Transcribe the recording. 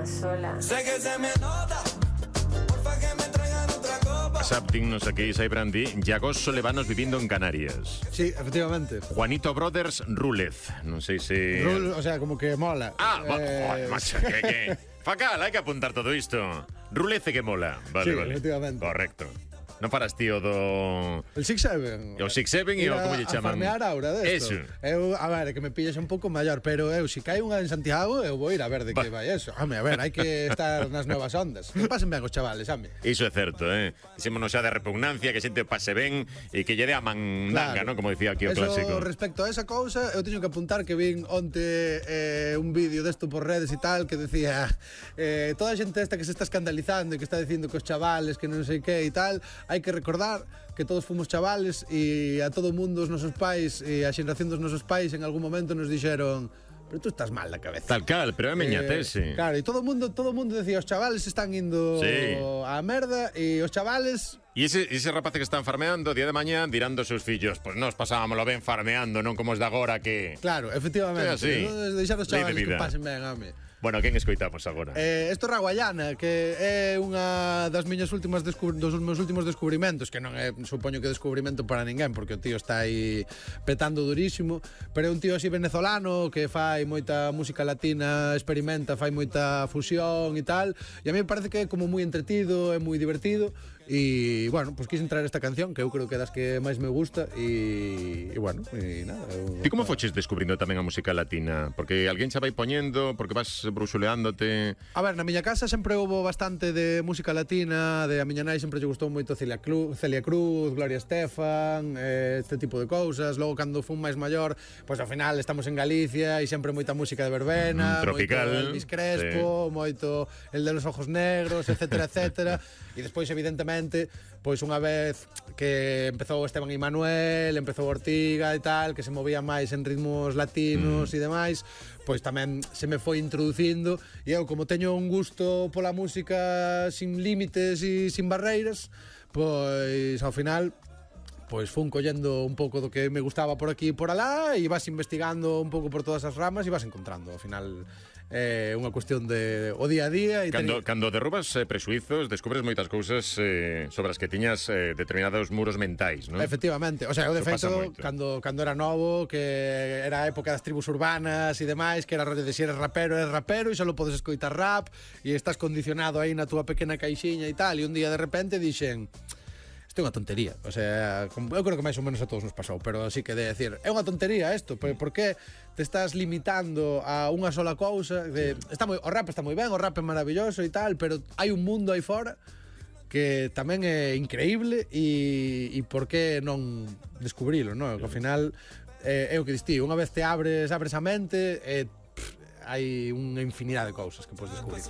más sola. Sé que se me nota, porfa que me traigan otra copa. Saptingnos aquí, Saibrandi. Yagos Solevanos viviendo en Canarias. Sí, efectivamente. Juanito Brothers Rúlez. Non sei se... O sea, como que mola. Joder, macho, que... Facal, hai que apuntar todo isto. Rúlez que mola. Vale, Sí, vale. efectivamente. Correcto. Non faras tío do... El 6-7. O 6-7 e o como lle chaman? A farmear aura desto. Eso. Eu, a ver, que me pilles un pouco maior, pero eu, se cae unha en Santiago, eu vou ir a ver de que vai eso. Home, a ver, hai que estar nas novas ondas. Que pasen ben os chavales, home. Iso é certo, Dixémonos xa de repugnancia, que xente pase ben e que lle dé a mandanga, Claro. non? Como dicía aquí o Eso, clásico. respecto a esa cousa, eu teño que apuntar que vin onte un vídeo desto por redes e tal que decía toda a xente esta que se está escandalizando e que está dicindo que os chavales que non sei que e tal, hai que recordar que todos fomos chavales e a todo mundo os nosos pais e a xeración dos nosos pais en algún momento nos dixeron pero tú estás mal da cabeza. Tal cal, pero é meñatese. Claro, e todo o mundo decía os chavales están indo Sí. á merda e os chavales E ese rapaz que están farmeando, día de mañá, dirán dos seus fillos, pois nos pasábamoslo ben farmeando, non como os de agora que... Claro, efectivamente. Sí, así. Deixar os Lei de chavales que vida. pasen ben, home. Bueno, quen escoitamos agora? Isto é Raguayana, que é unha das miñas últimas dos meus últimos descubrimentos, que non é, supoño que descubrimento para ninguén, porque o tío está aí petando durísimo, pero é un tío así venezolano que fai moita música latina, experimenta, fai moita fusión e tal, e a mí me parece que é como moi entretido, é moi divertido, e, bueno, pues quise entrar esta canción, que eu creo que é das que máis me gusta, e bueno, e nada. Ti como foches descubrindo tamén a música latina? Porque alguén xa vai poñendo, porque vas bruxuleándote... A ver, na miña casa sempre houbo bastante de música latina, de a miña nai sempre lle gustou moito Celia Cruz, Gloria Estefan, este tipo de cousas. Logo, cando fun máis maior, pois ao final estamos en Galicia e sempre moita música de verbena, tropical, moito Elvis Crespo, moito el de los ojos negros, etcétera, etcétera. E despois, evidentemente, pois unha vez que empezou Esteban e Manuel, empezou Ortiga e tal, que se movía máis en ritmos latinos e demais, pois tamén se me foi introducindo e eu, como teño un gusto pola música sin límites e sin barreiras, pois ao final pois fun collendo un pouco do que me gustaba por aquí e por alá e vas investigando un pouco por todas as ramas e vas encontrando. Ao final é unha cuestión de o día a día e Cando derrubas presuizos, descubres moitas cousas sobre as que tiñas determinados muros mentais, non? Efectivamente, o sea, eu de Eso pasa feito moito. cando era novo, que era a época das tribus urbanas e demais, que era rollo de si eres rapero e só podes escoitar rap e estás condicionado aí na túa pequena caixiña e tal, e un día de repente dixen isto é unha tontería, o sea, eu creo que máis ou menos a todos nos pasou, pero sí que de decir, é unha tontería isto, por que te estás limitando a unha sola cousa? O rap está moi ben, o rap é maravilloso e tal, pero hai un mundo aí fora que tamén é increíble e por que non descubrilo, non? Que ao final é o que dis ti, unha vez te abres a mente hai unha infinidade de cousas que podes descubrir.